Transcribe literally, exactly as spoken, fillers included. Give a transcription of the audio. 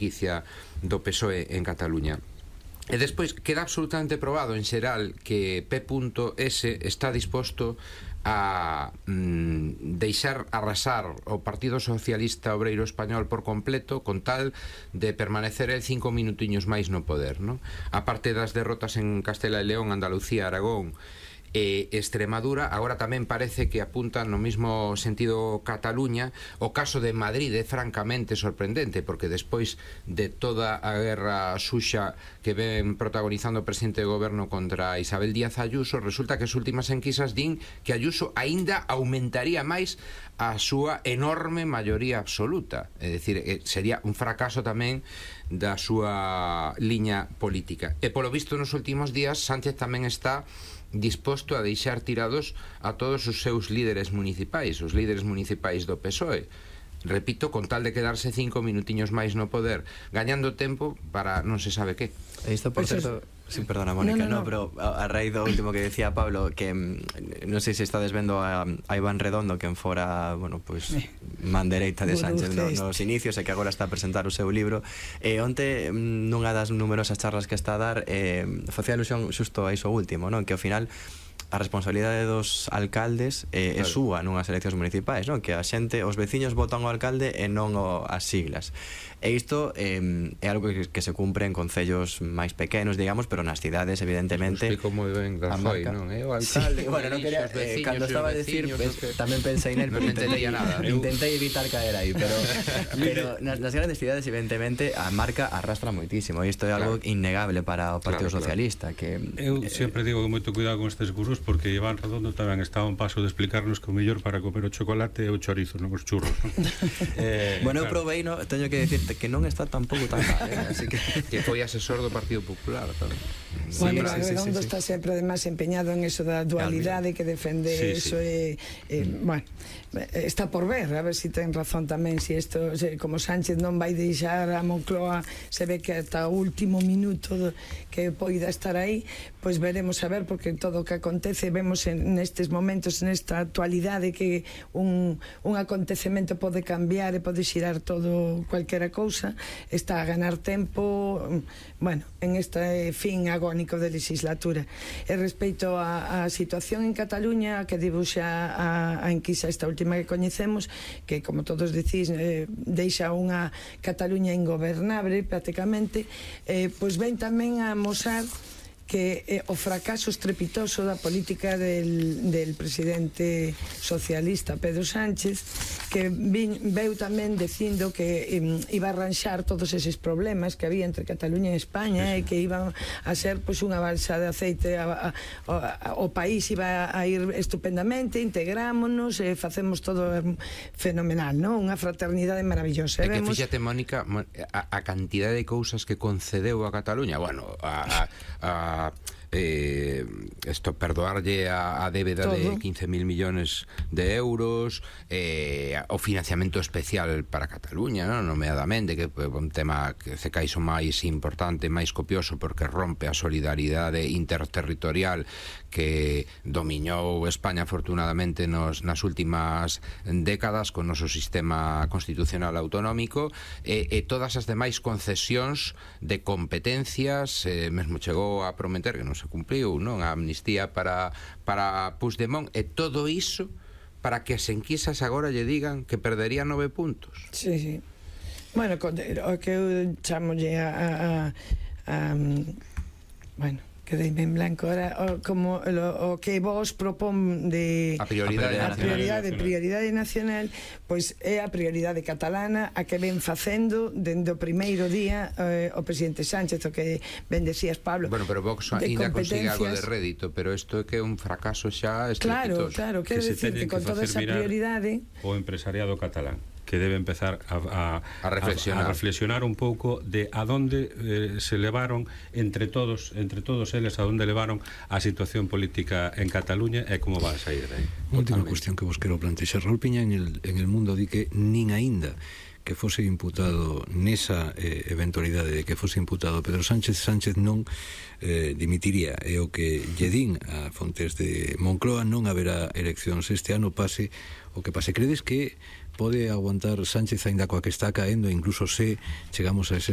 franquicia do P S O E en Cataluña. E despois queda absolutamente probado en xeral que P S está disposto a mm, deixar arrasar o Partido Socialista Obreiro Español por completo con tal de permanecer el cinco minutiños máis no poder, ¿no? A parte das derrotas en Castela e León, Andalucía, Aragón e Extremadura, agora tamén parece que apuntan no mismo sentido Cataluña. O caso de Madrid é francamente sorprendente, porque despois de toda a guerra suxa que ven protagonizando o presidente de goberno contra Isabel Díaz Ayuso, resulta que as últimas enquisas din que Ayuso aínda aumentaría máis a súa enorme maioría absoluta, é dicir, sería un fracaso tamén da súa liña política. E polo visto nos últimos días Sánchez tamén está disposto a deixar tirados a todos os seus líderes municipais, os líderes municipais do P S O E, repito, con tal de quedarse cinco minutiños máis no poder, gañando tempo para non se sabe que. Isto, por certo, sí, perdona, Mónica, no, no, no. no pero a, a raíz do último que decía Pablo, que non sei se estades vendo a, a Iván Redondo, que en fora, bueno, pois pues, man dereita de Sánchez no, nos inicios, e que agora está a presentar o seu libro. E onte, nunha das numerosas charlas que está a dar, eh, facía alusión xusto a iso último, non? Que ao final a responsabilidade dos alcaldes eh, claro. é súa nunhas eleccións municipais, non? Que a xente, os veciños votan ao alcalde e non o, as siglas. E isto eh, é algo que, que se cumpre en concellos máis pequenos, digamos, pero nas cidades, evidentemente... Explico moi ben Rajoy, non? É o alcalde, sí, bueno, non quería, eh, cando estaba a decir, pues, que... tamén pensei nel, non entendía nada. Intentei evitar caer aí, pero, pero nas, nas grandes cidades, evidentemente, a marca arrastra moitísimo, e isto é algo claro. innegable para o Partido claro, Socialista. Claro. Que, Eu eh, sempre digo que moito cuidado con estes gurús, porque Iván Redondo tamén estaba un paso de explicarnos que o mellor para comer o chocolate é o chorizo, non os churros, non? eh, bueno, eu provei, no, teño que decirte que non está tampouco tan mal, eh? Así que... que foi asesor do Partido Popular tamén. Sí, bueno, sí, sí, Redondo sí, sí. está sempre además empeñado en eso da dualidade, que defende sí, eso sí. E, e, mm. bueno, está por ver, a ver se si ten razón tamén, se si isto, se, como Sánchez non vai deixar a Moncloa, se ve que ata o último minuto que poida estar aí, pois veremos a ver, porque todo o que acontece vemos en nestes momentos, nesta actualidade, que un, un acontecemento pode cambiar e pode xirar todo cualquera cousa. Está a ganar tempo, bueno, en este fin agónico de legislatura. E respecto a, a situación en Cataluña, que dibuxa a, a enquisa esta última que coñecemos, que, como todos decís, eh, deixa unha Cataluña ingobernable prácticamente, eh, pois ven tamén a amosar que eh, o fracaso estrepitoso da política del, del presidente socialista Pedro Sánchez, que vin, veu tamén dicindo que eh, iba a arranxar todos eses problemas que había entre Cataluña e España, e que iban a ser pois, unha balsa de aceite, a, a, a, o país iba a ir estupendamente, integrámonos e facemos todo fenomenal, non? Unha fraternidade maravillosa. É que vemos... fíxate, Mónica, a, a cantidade de cousas que concedeu a Cataluña, bueno, a, a, a Eh, esto, perdoarlle a, a débeda todo. De quince mil millones de euros, eh, o financiamento especial para Cataluña, ¿no? Nomeadamente, que é un tema que se caixo máis importante, máis copioso, porque rompe a solidaridade interterritorial que dominou España afortunadamente nos, nas últimas décadas con o noso sistema constitucional autonómico, e, e todas as demais concesións de competencias, eh, mesmo chegou a prometer, que non se cumpliu, non? A amnistía para, para Puigdemont, e todo iso para que as enquisas agora lle digan que perdería nove puntos. Sí, sí. Bueno, o que eu chamolle a, a, a, a bueno, quedeime en blanco ahora, o, como o, o que vos propón de a prioridade, a prioridade, prioridade nacional, pois é a prioridade catalana, a que ven facendo dende o primeiro día eh, o presidente Sánchez, o que ben decías, Pablo. Bueno, pero Vox ainda consigue algo de rédito, pero isto é que é un fracaso xa estrepitoso. Claro, claro, quero decir que con toda esa prioridade o empresariado catalán, que debe empezar a, a, a, reflexionar. a, a reflexionar un pouco de a donde eh, se levaron entre todos entre todos eles, a donde levaron a situación política en Cataluña e como va a sair de aí. Última cuestión que vos quero plantexar. Raúl Piña en el, en el Mundo di que nin aínda que fose imputado nesa eh, eventualidade de que fose imputado Pedro Sánchez, Sánchez non eh, dimitiría, e o que lle din a fontes de Moncloa, non haberá eleccións este ano, pase o que pase. Credes que pode aguantar Sánchez aínda coa que está caendo, incluso se chegamos a ese